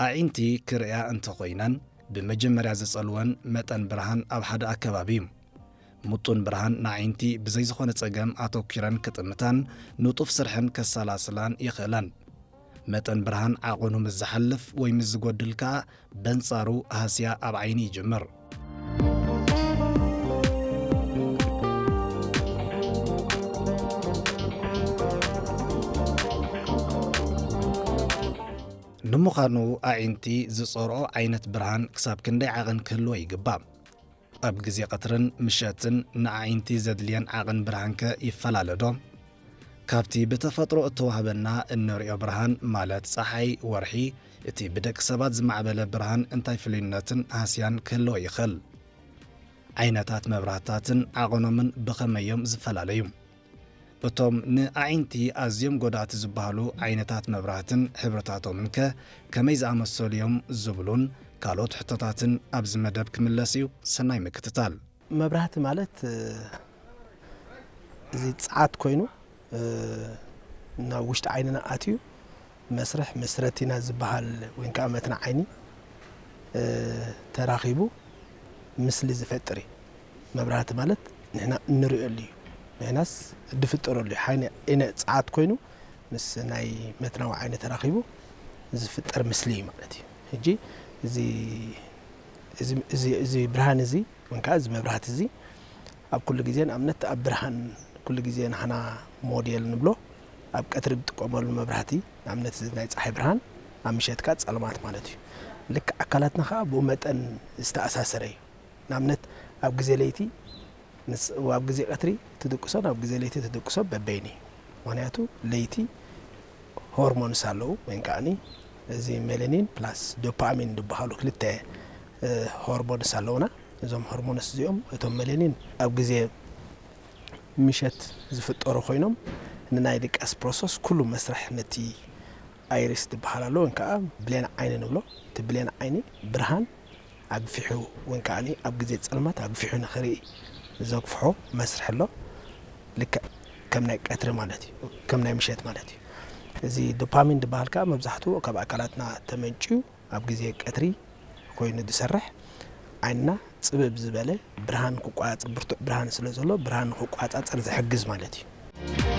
ኣዒንቲ ክርእያ እንተኾይነን፣ ብመጀመርያ ዘጸልወን መጠን ብርሃን ኣብ ሓደ ኣከባቢ እዩ። ምጡን ብርሃን ንኣዒንቲ ብዘይ ዝኾነ ጸገም ኣተኲረን ክጥምታን ንጡፍ ስርሐን ከሰላስላን ይኽእላን። መጠን ብርሃን ዓቐኑ ምስ ዝሓልፍ ወይ ምስ ዝጎድል ከኣ በንጻሩ ሃስያ ኣብ ዓይኒ ይጅምር። ንምዃኑ ኣዒንቲ ዝጸርኦ ዓይነት ብርሃን ክሳብ ክንደይ ዓቐን ክህልዎ ይግባእ? ኣብ ግዜ ቀትርን ምሸትን ንኣዒንቲ ዘድልየን ዓቐን ብርሃንከ ይፈላለ ዶ? ካብቲ ብተፈጥሮ እተዋህበና እንርእዮ ብርሃን ማለት ጸሓይ፣ ወርሒ፣ እቲ ብደቂ ሰባት ዝማዕበለ ብርሃን እንታይ ፍሉይነትን ሃስያን ክህልዎ ይኽእል? ዓይነታት መብራህትታትን ዓቐኖምን ብኸመይ እዮም ዝፈላለዩ? እቶም ንኣዒንቲ ኣዝዮም ጎዳእቲ ዝበሃሉ ዓይነታት መብራህትን ሕብርታቶምን ከ ከመይ ዝኣመሰሉ እዮም ዝብሉን ካልኦት ሕቶታትን ኣብዚ መደብ ክምለስ እዩ። ሰናይ ምክትታል። መብራህቲ ማለት፣ እ፣ እዚ ጸዓት ኮይኑ፣ እ፣ ናብ ውሽጢ ዓይንና ኣትዩ መስርሕ ምስ ረቲና ዝበሃል ወይ ከዓ መትና ዓይኒ፣ እ፣ ተራኺቡ ምስሊ ዝፈጥር እዩ። መብራህቲ ማለት ንሕና እንርእየሉ እዩ። ንሕናስ ድፍጠረሉ እዩ። ሓይነ-፣ ዓይነ ጸዓት ኮይኑ ምስ ናይ መትናዊ ዓይኒ ተራኺቡ ዝፍጠር ምስሊ እዩ ማለት እዩ። ሕጂ እዚ፣ እዚ፣ እዚ፣ እዚ ብርሃን እዚ ወይ ከዓ እዚ መብራህቲ እዚ ኣብ ኩሉ ግዜ፣ ንኣብነት ኣብ ብርሃን ኩሉ ግዜ ንሕና ሞዴል ንብሎ፣ ኣብ ቀትሪ ንጥቀመሉ መብራህቲ፣ ንኣብነት እዚ ናይ ጸሓይ ብርሃን፣ ኣብ ምሸት ከኣ ጸልማት ማለት እዩ። ልክዕ ኣካላትና ከኣ ብኡ መጠን ዝተኣሳሰረ እዩ። ንኣብነት ኣብ ግዜ ለይቲ ምስ፣ ኣብ ግዜ ቀትሪ ትድቅሶን ኣብ ግዜ ለይቲ ትድቅሶ በበይኑ እዩ። ምኽንያቱ ለይቲ ሆርሞንስ ኣለዉ፣ ወይ ከዓኒ እዚ ሜላኒን ፕላስ ዶፓሚን ዝበሃሉ ክልተ፣ እ፣ ሆርሞንስ ኣለዉና። እዞም ሆርሞንስ እዚኦም፣ እቶም ሜላኒን ኣብ ግዜ ምሸት ዝፍጠሩ ኮይኖም፣ ንናይ ድቃስ ፕሮሰስ ኩሉ መስርሕ ነቲ ኣይሪስ ዝበሃል ኣሎ፣ ወይ ከዓ ብሌን ዓይኒ ንብሎ። እቲ ብሌን ዓይኒ ብርሃን ኣግፊሑ፣ ወይ ከዓኒ ኣብ ግዜ ጸልማት ኣግፊሑ ንኽርኢ ዘግፍሖ መስርሕ ኣሎ። ልክዕ ከም ናይ ቀትሪ ማለት እዩ፣ ከም ናይ ምሸት ማለት እዩ። እዚ ዶፓሚን ዝበሃል ከዓ መብዛሕትኡ ካብ ኣካላትና ተመንጭዩ ኣብ ግዜ ቀትሪ ኮይኑ ዝሰርሕ፣ ዓይንና ጽብብ ዝበለ ብርሃን ክቆጻጸር፣ ብርቱዕ ብርሃን ስለ ዘሎ፣ ብርሃን ንኽቆጻጸር ዝሕግዝ ማለት እዩ።